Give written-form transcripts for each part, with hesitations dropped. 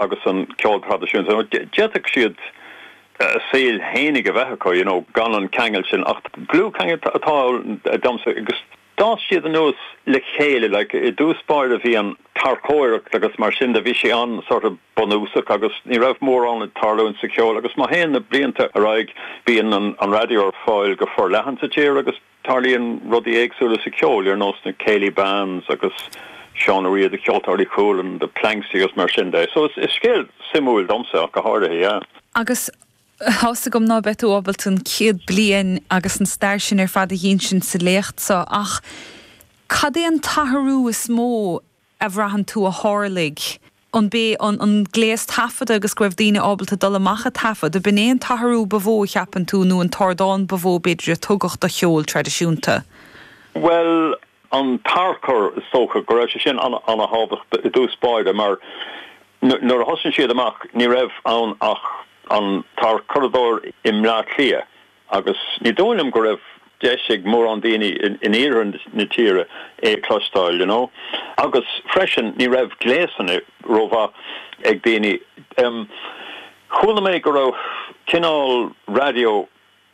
agus an ceol traidisiúnta. D'fhéadfadh siad a saol fhéinig a bheith acu, you know, gan an ceangal sin ach dlúthcheangal atá ann domsa agus d'fhás siad anuas le chéile, like, i dtús báire bhí an tarrcóireacht agus mar sin de, bhí sé an-sort of bunúsach agus ní raibh mórán ag tarlúint sa cheol agus má théann na blianta ar aghaidh bíonn an raidió ar fáil go forleathan sa tír agus Tarlaíonn rudaí éagsúla sa cheol, ar nós na Céilí Bands agus Seán Ó Riada, Ceoltóirí Chualann, The Planxty agus mar sin de. So is scéal suimiúil domsa ach go háirithe, yeah. Agus tá's agam ná beidh tú ábalta an 100 bliain agus an stair sin ar fad a dh'insint sa léacht seo ach cad é an t-athrú is mó a bhraitheann tú a tharlaigh? An b'é an gléas taifeadta agus go raibh daoine ábalta dul amach a taifead, ab in é an t-athrú ba mhó a cheapann tú nó an t-ardán ba mhó b'fhéidir a tugadh do cheol traidisiúnta? Bhuel, an tarchur, is dócha go raibh sé sin an-thábhachtach i dtús báire mar nuair a thosaigh siad amach ní raibh ann ach an tarchuradóir i mBleá Cliath Agus ní dóigh liom go raibh deis ag mórán daoine in iarthar na tíre é a chloisteáil, you know. Agus freisin ní raibh gléasanna rómhaith ag daoine. Chuala mé go raibh cineál raidió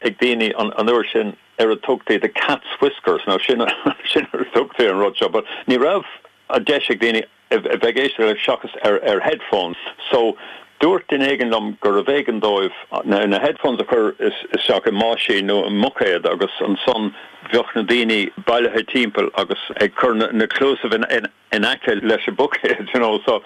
ag daoine an uair sin ar a dtugtaí the cat's whiskers, now sin sin ar a dtugtaí an rud seo, but ní raibh an deis ag daoine a bheith ag éisteacht leis seachas ar headphones. So, dúirt duine éigin liom gurbh éigean dóibh na headphones a chur isteach i mbáisín nó i mbuicéad agus ansan bheadh na daoine bailithe timpeall agus ag cur na cluasaibh in aice leis an buicéad, you know. So,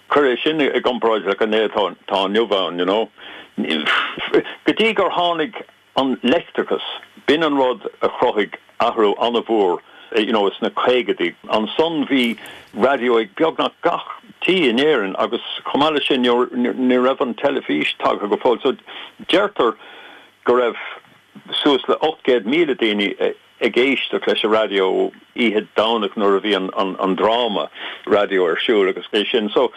cuir é sin i gcomparáid le an é atá inniu ann, you know. Go dtí gur tháinig An leictreachas, b'in an rud a chruthaigh athrú an-mhór you know sna caogaidí. Ansan bhí raidió ag beagnach gach tí in Éirinn agus chomh maith leis sin ní raibh an teilifís tagtha go fóill. So deirtear go raibh suas le 800,000 daoine ag éisteacht leis an raidió oíche Domhnach nuair a bhí an dráma raidió ar siúl agus é sin. So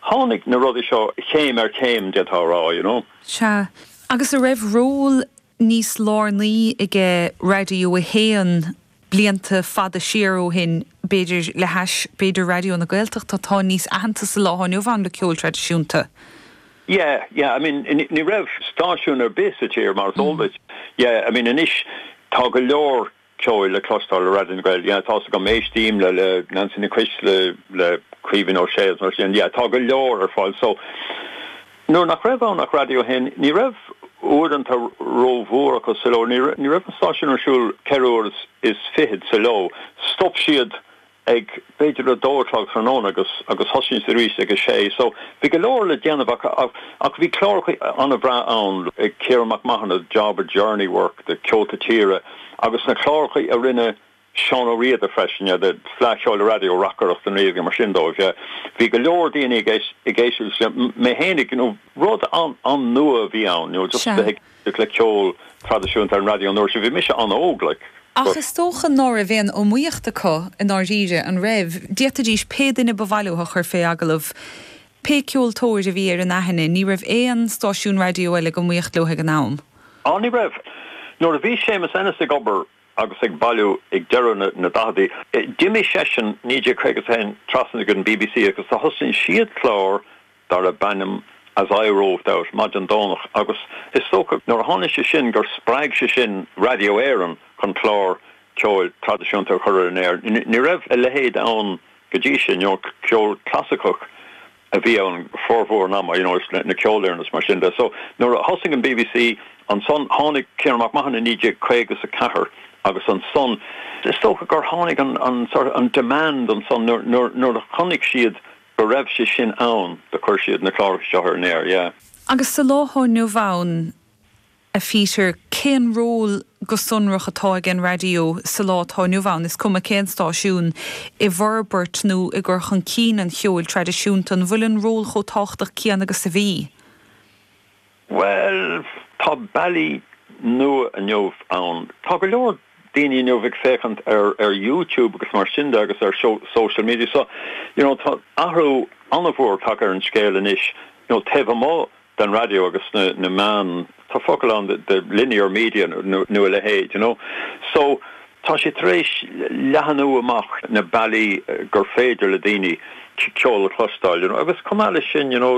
tháinig na rudaí seo chéim ar chéim d'fhéadfá a rá, you know. Sea. Agus a' raibh ról níos lárnaí aige Raidió 1 blianta fada siar ó shin, b'fhéidir, le hais, b'fhéidir Raidió na Gaeltachta atá níos aitheanta sa lá atá inniu ann le ceol traidisiúnta? Yeah, yeah, I mean, ní raibh stáisiún ar bith sa tír mar is eol duit. Yeah, I mean, anois tá go leor ceoil le cloisteáil ar Raidió na Gael, yeah, tá's agam, éistím le, le Nancy Nic Coisle, le Caoimhín Ó Sé agus mar sin, yeah, tá go leor ar fáil. So, nuair nach raibh ann ach Raidió 1, ní raibh uaireanta rómhór acu sa ló, ní, ní raibh an stáisiún ar siúl ceithre uair is fichead sa ló. Stop siad ag b'fhéidir a dó a chlog tráthnóna agus agus thosaigh siad arís ag a sé. So bhí go leor le déanamh acu ach ach bhí cláracha an-bhreá ann ag Ciarán Mac Mathúna, Job of Journey Work, the Ceolta Tíre agus na cláracha a rinne Seán Ó Riada freisin, yeah, the Fleadh Cheoil Raidió, Reacaireacht an Rí agus mar sin dóibh, yeah. Bhí go leor daoine ag ag éisteacht leis, mé fhéinig, you know, rud an-nua a bhí ann, you know, just bheith ag le ceol traidisiúnta ar an raidió an uair sin. Bhí mise an-óg, like, Ach but. is dócha ná raibh aon iomaíocht acu i ndáiríre, an raibh? D'fhéadfaidís pé duine ba mhaith leo a chur fé agallamh, pé ceoltóir a bhí ar an aithne, ní raibh aon stáisiún raidió eile ag iomaíocht leo ag an am. Á, ní raibh. Nuair a bhí Séamus Ennis ag obair agus ag bailiú ag deireadh na ndaicheadaí, d'imigh seisean 1951 trasna go an bbc agus do thosaigh siad clár darbh ainm As I Roved Out, maidin Domhnach, agus is dócha nuair a tháinig sé sin gur spreag sé sin Radio Éireann chun clár ceoil traidisiúnta a chur ar an aer. Ní raibh a leithéid ann go dtí sin, you know, ceol clasaiceach a bhí ann formhór an ama, you know, na ceolfhoireann is mar sin de. So nuair a thosaigh an bbc ansan tháinig Ciarán Mac Mathúna i 1954 agus ansan is dócha gur tháinig an, an sort of, an demand ansan nuair, nuair, nuair a chonaic siad go raibh sé sin ann do chuir siad na cláracha seo ar an aer, yeah. Agus sa lá atá inniu ann, a Pheter, cén ról go sonrach atá ag an raidió sa lá atá inniu ann, is cuma cén stáisiún, i bhforbairt nó i gcur chun cinn an cheoil traidisiúnta? An bhfuil an ról chomh tábhachtach céanna agus a bhí? Bhuel, tá bealaí nua inniu ann. Tá go leor daoine inniu ag féachaint ar ar YouTube agus mar sin de agus ar social media so, you know, tá athrú an-mhór tagtha ar an scéal anois, you know, taobh amuigh den raidió agus na na meáin, tá focal ann the linear media nó a leithéid, you know. So, tá sé tar éis leathanú amach na bealaí gur féidir le daoine ceol a chloisteáil, you know, agus chomh maith leis sin, you know,